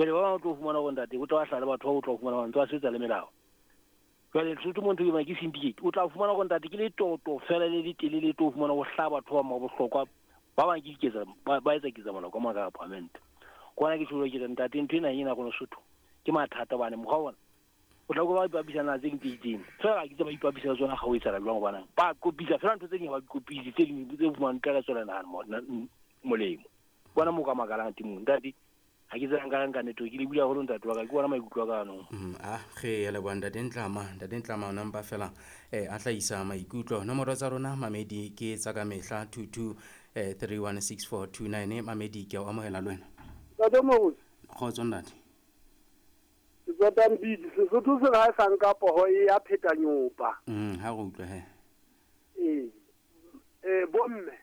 Jwale ba bang o tlo fumana hore ntate o tla hlala batho ba o tla fumana hore ntse ba sebetsa le melao. Jwale Lesotho mo ntho ke ke syndicate. O tla fumana hore ntate ke letoto fela le letelele tlo fumana ho hlaha batho ba bohlokwa ba bang ke diketsa ba etsa ketsa molao ka maka parliament. Kwana ke tjho ke re ntate ntho ena ena rona Sotho ke mathata bane mokgwa ona. O tla ba ipapisa na tse ding tse itseng. Fela ke tse ba ipapisa tsona ga o etsa jwang hobane ba kopisa fela ntho tse ding ha ba kopise tse ding tse fumanang tla tswela nahana molemo. Bona mo ka makalang teng ntate. Ha ke tsena nka network le bula haholo ntate wa ka ke bona maikutlo a ka anong. A re ya leboha ntate Ntlama, ntate Ntlama o nampa fela a hlahisa maikutlo. Nomoro tsa rona mamedi ke tsa ka mehla 22 316429. Mamedi ke a o amohela le wena. Ntate Moruti. Kgotso ntate. Ke tswa Tambidi, Sesotho se re ha e sa nka poho e ya pheta nyopa. Ha re utlwe he. Ee, bomme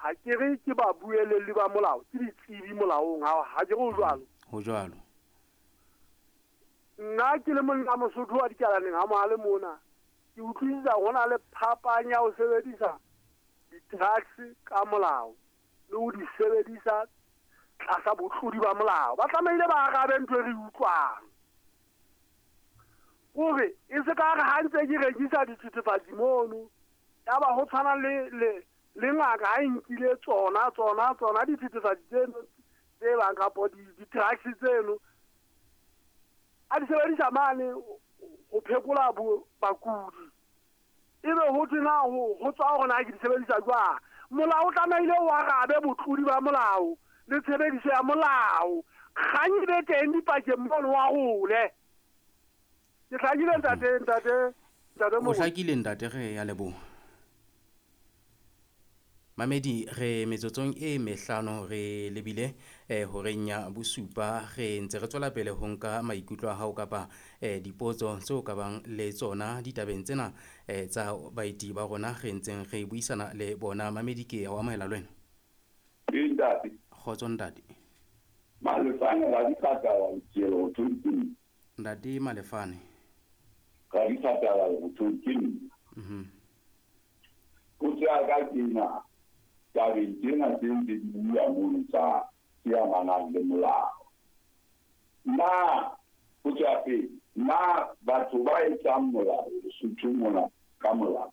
ha ke re ke ba buelelli ba molao, ke ditsebi molaong, ha ke re ho jwalo. Ho jwalo. Nna ke le monna Mosotho wa dikalaneng ha mohale mona, ke utlwisisa ho na le phapang ya ho sebedisa di-drugs ka molao le ho di sebedisa tlasa botlodi ba molao. Ba tlamehile ba arabe ntho e re utlwang. Hore e se ka re ha ntse ke rekisa dithethefatsi mono, ya ba ho tshwana le le ngaka ha e nkile tsona dithethefatsi tseno tse bang kapo di-drugs tseno a di sebedisa mane ho phekola bakudi. Ebe ho thwe na ho tswa hore na ke di sebedisa jwang. Molao o tlamehile o arabe botlodi ba molao le tshebediso ya molao. Kgang e be teng dipakeng mono wa hole. Ke hlakile ntate. O hlakile ntate, re ya leboha. Mamedi re metsotsong e mehlano re lebile horeng ya bosupa. Re ntse re tswela pele ho nka maikutlo a hao kapa dipotso tseo ka bang le tsona ditabeng tsena tsa baeti ba rona re ntseng re buisana le bona. Mamedi ke a o amohela le wena. Ntate. Kgotso ntate. Malefane ra dikgatala ke ho. Ntate Malefane. Ra dikgatala ho ke. Potso ya ka ke ena. Tabeng tsena tse ntse di bua mono tsa tse amanang le molao. Na potso ya pele, na batho ba etsang molao Lesotho mona ka molao,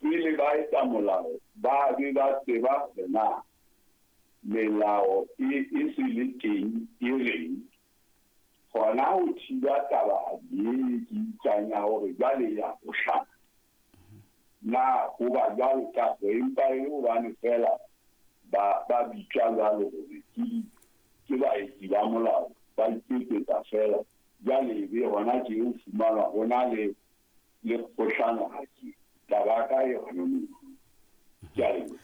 pele ba etsa molao ba be ba tseba hore na melao e se le teng e reng, hona ho thiba taba e ke utlwang ya hore jwale ya bohlano. Na ho ba jwalo ka empa e le hobane fela ba bitswa jwalo hore ke baetsi ba molao, ba iketsetsa fela. Jwale ebe hona tje o fumanwa ho na le kgohlano ha ke taba ka e hona moo. Ke a leboha.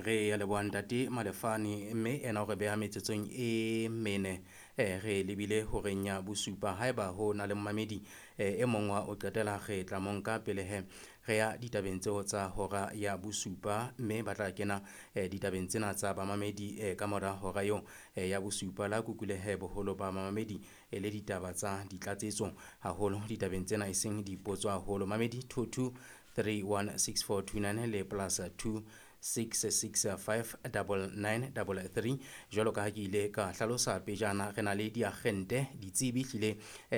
Re ya leboha ntate Malefane, mme ena o re beha metsotsong e mene re lebile horeng ya bosupa. Haeba ho na le mmamedi e mong wa o qetela re tla mo nka pele he re ya ditabeng tseo tsa hora ya bosupa, mme ba tla kena ditabeng tsena tsa bamamedi ka mora hora eo ya bosupa. La kukule he boholo ba mamamedi le ditaba tsa ditlatsetso haholo ditabeng tsena e seng dipotso haholo. Mamedi 22 316429 le plus 2 665 9933. Jwalo ka ha ke ile ka hlalosa pejana, re na le diagente ditsebi hlile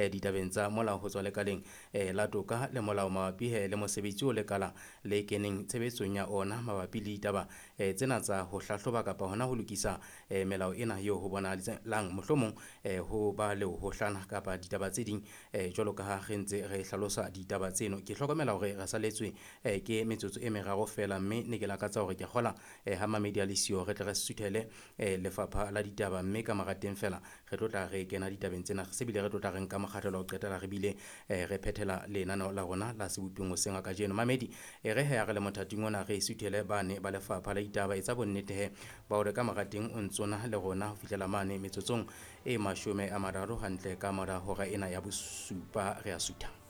ditabeng tsa molao ho tswa lekaleng la toka le molao mabapi le mosebetsi o lekala le keneng tshebetsong ya ona mabapi le ditaba tsena tsa ho hlahloba kapa hona ho lokisa melao ena eo ho bonahalang mohlomong ho ba le ho hlana kapa ditaba tse ding jwalo ka ha re ntse re hlalosa ditaba tseno. Ke hlokomela hore re saletswe ke metsotso e meraro fela, mme ne ke lakatsa hore ke kgola ha mamedi a le siyo re tle re suthele lefapha la ditaba, mme ka mora teng fela re tlo tla re kena ditabeng tsena, se bile re tlo tla re nka mokgahlelo ho qetela re bile re phethela lenaneo la rona la seboping hoseng ha kajeno. Mamedi re he re le mothating ona re suthele bane ba lefapha la ditaba, etsa bonnete he ba hore ka mora teng o ntsona le rona ho fihlela mane metsotsong e 30 hantle ka mora hora ena ya bosupa re a sutha.